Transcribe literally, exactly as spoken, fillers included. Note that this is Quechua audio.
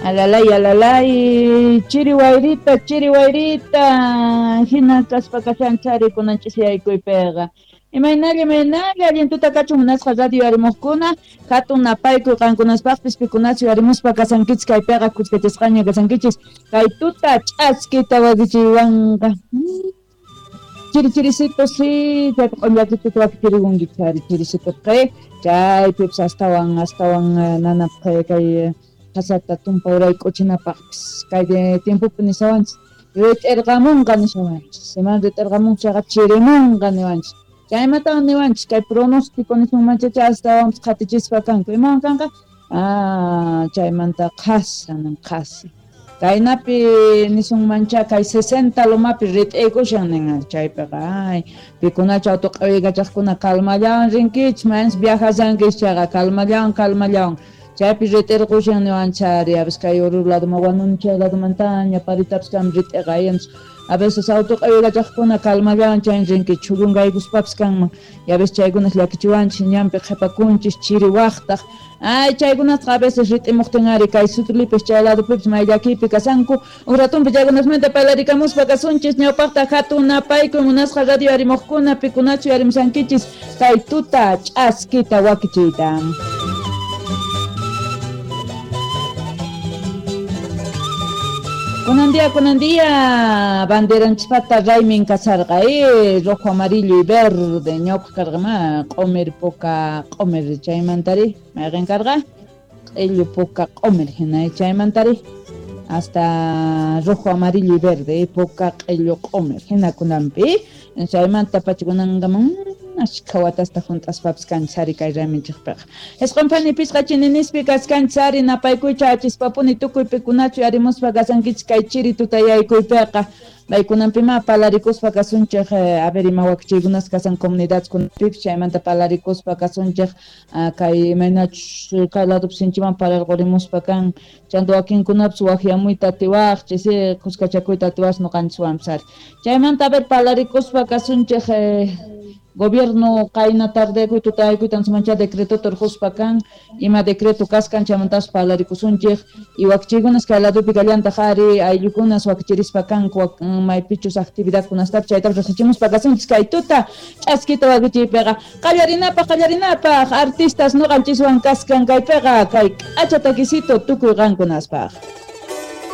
Alalay, alalay, chiri wayrita, chiri wayrita, hina kaspa kashanchari kunan ch'isiyaykuypiqa. Imaynalla, imaynalla, allin tuta kachun munasqa radio yarimuqkuna, hatun napaykuy qankunaspaqpis pikunachu yarimuspa kasankichis kaypiqa kuskachasqaña kasankichis, kay tuta ch'askita wakichiywanqa. Chiri chirisito, sí, chaypi q'ullakituta wakichirikunki chari chirisito qi, chaypipis astawan, astawan nanapaq kay qasata tumpa urayk'uchinapaqpis kay tiempopi nishawanchis rit'irqamunqa nishawanchis, iman rit'irqamun chayqa chirimunqa niwanchis, chaymatawan niwanchis kay pronóstico nisunmanchacha astawanpis qhatichispa kanku, imawan kanqa? Ah, chaymanta qhasa nin qhasa. Kaynapi nisunmancha kay sesenta lomapi rit'iykushan nin chaypiqa, ay pikunachu autoq'uykachaqkuna calmallawan rinkichis, mayans viajashankichis chayqa calmallawan calmallawan. Chaypi rit'irqushan niwanchari, a veces kay Oruro ladoman Huanuni ladomantaña paritapis kam rit'iqa ayanchis. A veces autoq'uykachaqkuna calmallawan chayn rinkichis, chhullungaykuspapis kanman, y a veces chaykunas llakichiwanchis, ñanpi qhipakunchis, chiri waqtaq. Ay, chaykunasqa a veces rit'imuqtin ari kay Sutlipis chay ladopipis may llakiypi kasanku. Uj ratunpi chaykunasmanta parlarikamuspa kasunchis, ñawpaqta hatun napaykuy munasqa radio yarimuqkuna, pikunachu yarimushankichis kay tuta ch'askita wakichiyta. Kunan día, kunan día, banderanchispata raymin kasarqa, eh, rojo, amarillo y verde, ñawpaq karqa ma, q'umir puka q'umir chaymantari, mayqin karqa? Q'illu puka q'umir hina, chaymantari, hasta rojo, amarillo y verde, puka q'illu q'umir hina kunanpi, chaymanta pacha kunankaman ashkha watasta hunt'aspapis kanchari kay rayminchikpiqa. Isqun phani pisqa chininispi kaskanchari napaykuycha achispapuni tukuy pikunachu yarimuspa kasankichis kay chiri tutayaykuypiqa. Maykunanpima palarikuspa kasunchik, a ver ima wakichiykunas kasan comunidadkunapipis chaymanta palarikuspa kasunchik, kay imaynachus kay ladopi sinchiman pararqurimuspa kan, chanta wakinkunapis waqyamuyta atiwaqchis, kuskachakuyta atiwaqchis ñuqanchiswanpis ari. Chaymanta a ver palarikuspa kasunchik, gobierno qayna tardekuy tutayakuyta mancha decreto turquspa kan, ima decreto kaskan chaymantapas parlarikusunchik, y wakichiykunas kay ladopi kallantaq ari ayllukunas wakichirispa kanku maypichus actividadkunastapis chaytapas riqsichimuspa kasunchis kay tuta ch'askita wakichiypiqa. Qallarinapaq, qallarinapaq artistas ñuqanchiswan kaskan kaypiqa kay k'acha takisito tukuy qankunaspaq.